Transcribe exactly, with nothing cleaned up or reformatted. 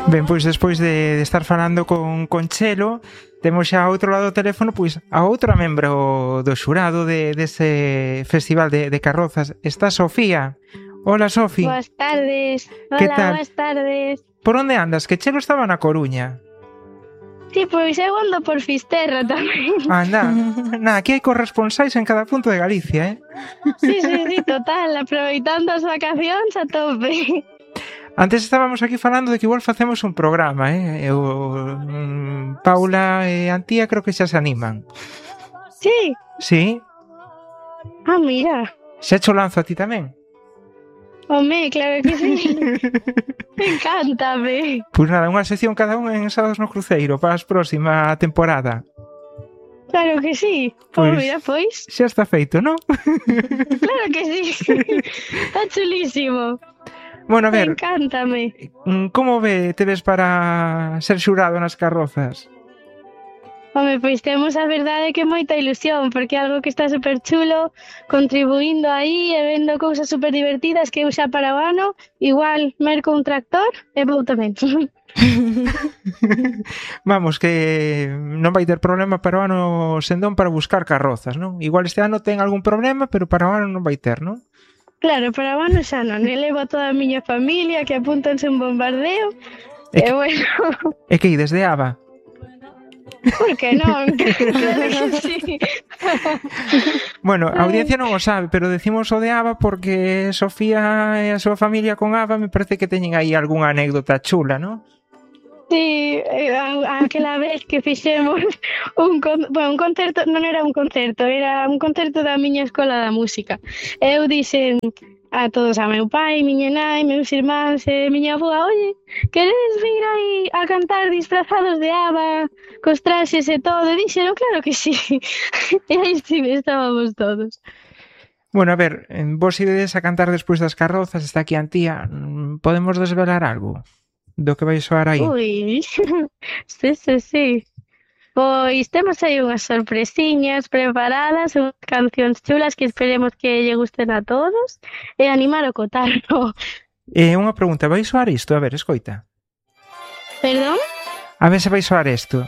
Ben, pois despois de, de estar falando con, con Chelo, temos xa ao outro lado do teléfono pois a outra membro do xurado de, dese festival de, de carrozas. Está Sofía. Hola, Sofi. Boas tardes. Que Hola, tal? boas tardes. Por onde andas? Que Chelo estaba na Coruña. Sí, pois eu ando por Fisterra tamén. Anda, na, aquí hai corresponsais en cada punto de Galicia, eh? Sí, sí, sí, total, aproveitando as vacacións a tope. Antes estábamos aquí falando de que igual facemos un programa, eh? Eu, mm, Paula e Antía creo que xa se animan. Sí? Sí? Ah, mira. Xa cho lanzo a ti tamén? Home, claro que sí. Encántame. Pois nada, unha sección cada un en Sábados no Cruceiro para a próxima temporada. Claro que sí. Pois, Oh, mira, pois. Xa está feito, non? Claro que sí. Está chulísimo. Bueno, a ver, Encántame. como ve, te ves para ser xurado nas carrozas? Home, pois temos a verdade que moita ilusión, porque é algo que está super chulo, contribuindo aí e vendo cousas super divertidas que eu xa para o ano, igual merco un tractor e vou tamén. Vamos, que non vai ter problema para o ano Sendón para buscar carrozas, non? Igual este ano ten algún problema, pero para o ano non vai ter, non? Claro, para o ano xa non, elevo a toda a miña familia que apúntanse un bombardeo, e, e bueno... E que ides de Aba? Por que non? Claro que sí. Bueno, a audiencia non o sabe, pero decimos o de Aba porque Sofía e a súa familia con Aba me parece que teñen aí algunha anécdota chula, non? Sí, aquela vez que fixemos un, con, bueno, un concerto, non era un concerto, era un concerto da miña escola da música. Eu dixen a todos, a meu pai, miña nai, meus irmáns e miña avó, oye, queres vir aí a cantar disfrazados de Aba, cos traxes e todo? E dixeron, claro que sí. E aí sí, estábamos todos. Bueno, a ver, vos ides a cantar despois das carrozas, está aquí a Antía, podemos desvelar algo do que vai soar aí? Ui, sí, sí, sí. Pois temos aí unhas sorpresiñas preparadas, unhas cancións chulas que esperemos que lle gusten a todos e animar o cotarro. E unha pregunta, vai soar isto? A ver, escoita. Perdón? A ver se vai soar isto.